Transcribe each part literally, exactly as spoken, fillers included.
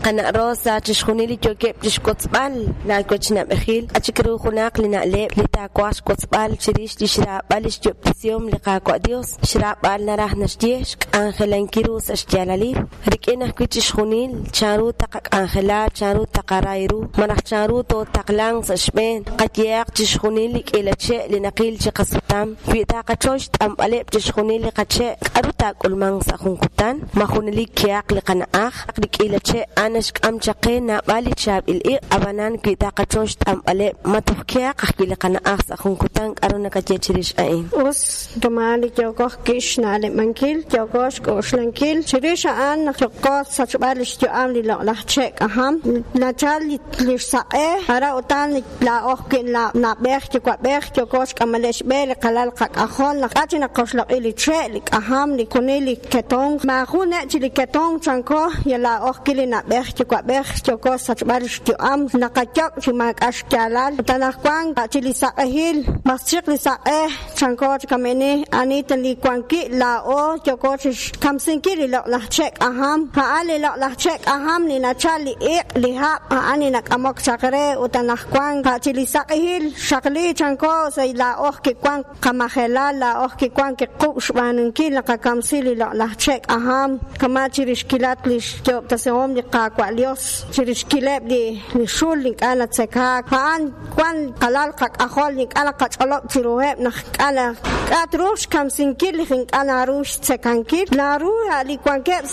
Qana' Rosa, chixjunil li yookeb' chixwotzb'al laawech nab'ejil, achik ru junaq li na'leb' li taawaj xwotzb'al chirix li xraab'al li xyob'tesihom li Qaawa' Dios, xraab'al naraj naxye xk'anjelankil ru sa' xyaalalil, rik'in ajwi' chixjunil chanru taqak'anjela, chanru taqaray ru, malaj chanru tootaqlanq sa' xb'een, qayehaq chixjunil li k'iila che' li naqil chi qasutam, wi taqachoy xt'anb'aleb' chixjunil li qache', k'aru taak'ulmanq sa' jun kutan, ma junelik kehaq li qana'aj, li k'iila che' a'an naxk'am chaq qe naab'al li chaab'il iq', ab'anan wi taqachoy xt'anb'aleb' ma toj kehaq ajwi' li qana'aj sa' jun kutan, k'aru nakaye chirix a'in. Us rumal li yookoj kix na'leb'ankil, yookoj xk'oxlankil, chirix a'an yookoj sachb'al li xyu'am li loq'laj che' k'ajam, nachal li xsaq'e, ara utan laa'oj wi' nab'ej yuwa'b'ej yookoj xk'amaleb' xb'e li qalal qak'ajol, naq k'a' chi naqoxloq'i li che', li k'ajam, li kunil li ketonq, maajun ne' chi li ketonq chanko, ya laa'oj ki li nab'ej yuwa'b'ej yookoj sachb'al li xyu'am, naqayok' chi maak'a' xyaalal, utan ajwan chi li saq'ejil, maschiq li saq'e chanko chi kamini, anita li wanki laa'o yookoj chi xkamsinkil li loq'laj che' k'ajam, a'an li loq'laj che' k'ajam li nachal li iq' li hab', a'an li nak'amok chaq re, utan ajwan chi li saq'ejil xaqli chanko sa' laa'oj kiwan qamajelal, laa'oj kiwan kiqub' xb'aanunkil naqakamsi li loq'laj che' k'ajam, kama' chirixkilat li xyob'tesihom li Qaawa' Dios, chirixkileb' li li xul ink'a' natzekaak, a'an wan qalal qak'ajol ink'a' naqach'olob' chiruheb' naq k'a' k'a' truuq xkamsinkil li ink'a' naru xtzekankil, naru li wankeb'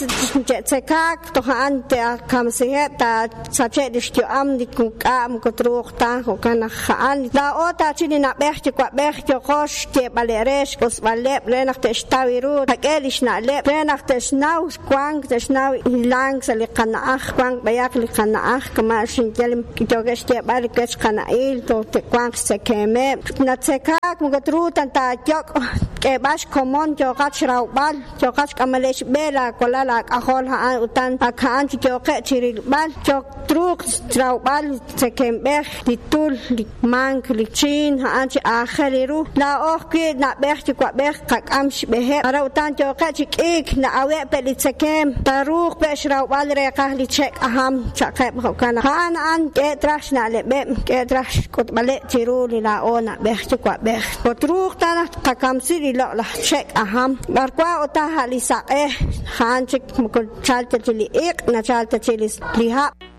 che'tzekaak toj a'an te'kamsiheb' taasache' li xyu'am li k'a' moko truuq ta, jo'kan naq a'an laa'o taachi li nab'ej yuwa'b'ej yookoj xyeeb'aleb' re xk'osb'aleb' re naq te'xtaw ru qak'e li xna'leb' re naq te'xnaw wank te'xnaw hilank sa' li qana'aj, wank b'ayaq li qana'aj kama' xinyal yookeb' xyeeb'al li wech qana'il toj te'wanq xtzekemeb', natzekaak moko truuq ta taayok' k'eeb'al xkomon yooqat xrawb'al, yooqat xk'amaleb' xb'e laawalal laak'ajol a'an utan ak a'an chi yooqeb' chirilb'al, yook truuq xrawb'al tzekemb'ej, li tul, li mank, li chiin, a'an chi aajel ru, laa'oj wi' nab'ej yuwa'b'ej qak'am xb'eheb', ara utan yooqeb' chi k'iik na'aweb' pe' li tzekem, taruuq pe' xrawb'al reeqaj li che' k'ajam chaqeb' jo'kan naq a'an a'an k'e traj xna'leb'eb', k'e traj xk'utb'aleb' chiru li laa'o nab'ej yuwa'b'ej, truuq ta naq qakamsi li loq'laj che' k'ajam, b'arwa utan a' li saq'e, a'an chik moko chalta chi li iq', nachalta chi li hab'.